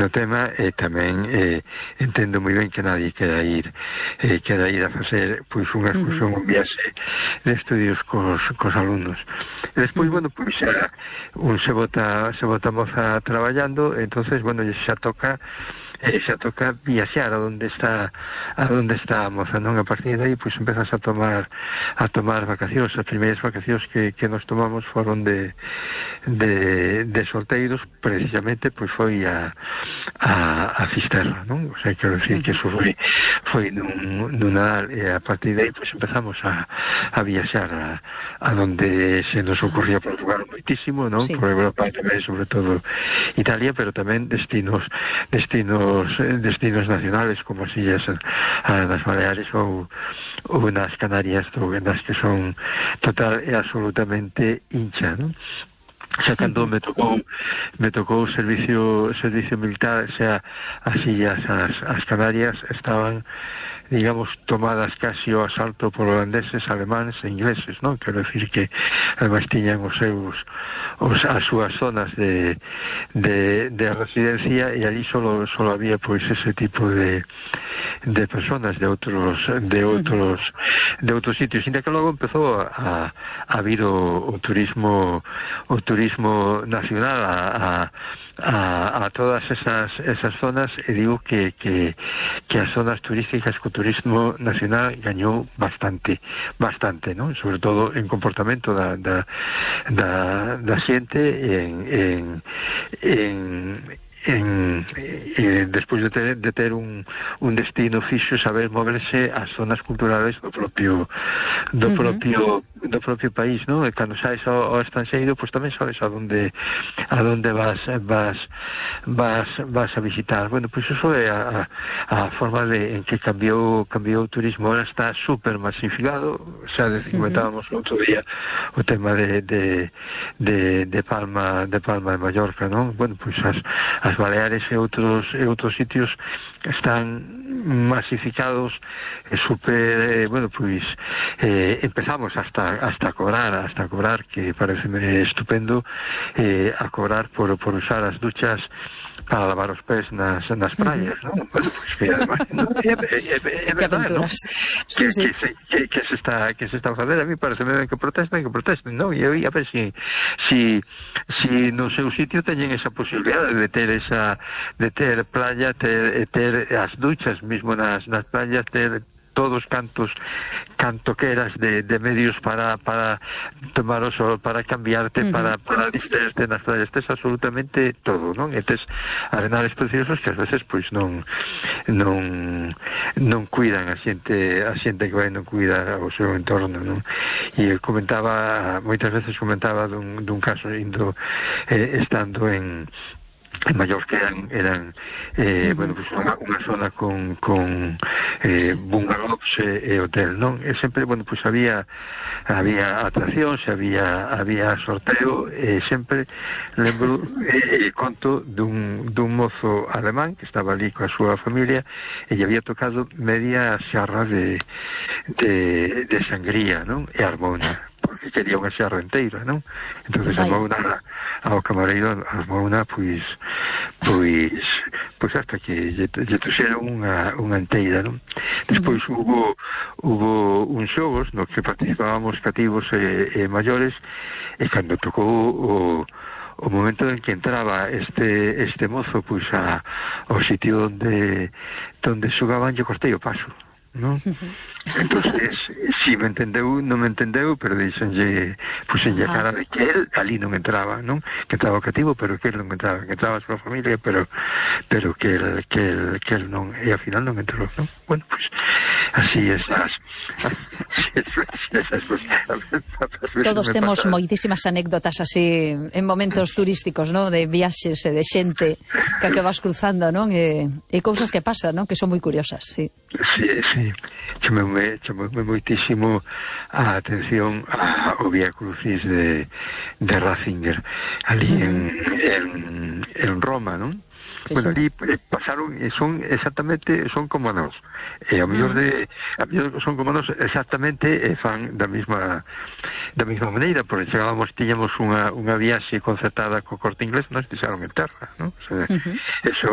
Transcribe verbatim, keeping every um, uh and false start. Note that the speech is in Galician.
no tema, e tamén eh, entendo moi ben que nadie quera ir eh, quera ir a facer pois unha excursión, uh-huh. un viaxe de estudios cos, cos alumnos. E despois, uh-huh. bueno, pois xa, un se bota se bota moza traballando, entonces, bueno, xa toca eh, xa toca viaxar a donde está a donde está a moza, non? A partir de aí, pois empezas a tomar a tomar vacacións. As primeiras vacacións que, que nos tomamos foron de de, de solteiros, precisamente, pois foi a a, a Fisterra, non? O sea, quero decir que eso foi foi nun, nun Nadal, e a partir de aí, pois empezamos a, a viaxar a, a donde se nos ocurría Portugal moitísimo, non? Sí. Por Europa tamén, sobre todo Italia, pero tamén destinos destinos destinos nacionales como as illas das Baleares ou, ou nas Canarias, ou nas que son total e absolutamente hincha, non? Xa cando me tocou me tocou o servicio servicio militar, xa as illas as, as Canarias estaban, digamos, tomadas casi ao asalto por holandeses, alemáns e ingleses, non? Quero decir que ademais tiñan os seus os, as súas zonas de, de, de residencia, e ali solo, solo había pois ese tipo de de personas de outros de outros de outros sitios, inda que logo empezou a, a vir o, o turismo o turismo nacional a, a A, a todas esas esas zonas, e digo que, que, que as zonas turísticas co turismo nacional gañou bastante, bastante, non? Sobre todo en comportamento da, da, da, da xente, en, en, en en, eh, despois de ter, de ter un, un destino fixo, saber moverse ás zonas culturales do propio do uh-huh. propio do propio país, non? E cando saes ao, ao estranxeiro, pois tamén sabes a donde a donde vas vas vas vas a visitar. Bueno, pois iso é a, a forma de en que cambiou cambiou o turismo. Ahora está super masificado, xa comentábamos uh-huh. outro día o tema de de, de de Palma de Palma de Mallorca, non? Bueno, pois as as Baleares e outros e outros sitios están masificados, e super, eh, bueno, pois eh, empezamos hasta hasta cobrar, hasta cobrar, que pareceme estupendo, eh, a cobrar por por usar as duchas para lavar os pés nas, nas praias, non? Bueno, pois que además, no, é, é, é, é verdade, non? Sí, que, sí. Que, que, que se está que se está a facer. A mí parece ben que protesten, que protesten, non? E eu a ver si si si no seu sitio teñen esa posibilidade de ter esa de ter playa, ter ter as duchas mismo nas nas playas, ter todos cantos cantoqueras de, de medios para para tomar o sol, para cambiarte, uh-huh. para, para distraerte nas playas. Tes absolutamente todo, non? E tes arenales preciosos que ás veces pois non non non cuidan a xente a xente que vai non cuida o seu entorno, non? E comentaba, moitas veces comentaba dun, dun caso indo eh, estando en en Mallorca, eran, eran eh, uh-huh. bueno, pues unha, unha zona con, con eh, bungalows e, e hotel, non? E sempre, bueno, pues había había atraccións, había había sorteo, e sempre lembro e eh, conto dun, dun mozo alemán que estaba ali coa súa familia, e lle había tocado media xarra de de, de sangría, non? E armou unha, porque quería unha xarra enteira, non? Entonces armou unha ao camareiro, armou unha, pois pois pois hasta que lle, lle trouxeron unha, unha enteira, non? Despois uh-huh. hubo hubo uns xogos no que participábamos cativos e, e maiores, e cando tocou o o momento en que entraba este este mozo pois a ao sitio onde onde xogaban, lle cortei o paso, non? Entonces, si me entendeu, non me entendeu, pero dixenlle, puxenlle a cara de que él ali non entraba, non? Que entraba o cativo, pero que él non entraba, que entraba a súa familia, pero pero que él, que él, que él non, e ao final non entrou, non? Bueno, pues así esas, esas, esas todos temos moitísimas anécdotas así en momentos turísticos, non? De viaxes e de xente que que vas cruzando, non? E, e cousas que pasan, non? Que son moi curiosas, sí. Sí, sí. Chamoume, chamoume moitísimo a atención ao Vía Crucis de, de Ratzinger, ali uh-huh. en, en, en Roma, non? Sí, bueno, ali eh, pasaron, e son exactamente, son como nós, e a mellor de a mellor son como nós exactamente, e fan da mesma da mesma maneira, porque chegábamos, tiñamos unha, unha viaxe concertada co Corte Inglés, nos deixaron en terra, non? O sea, uh-huh. eso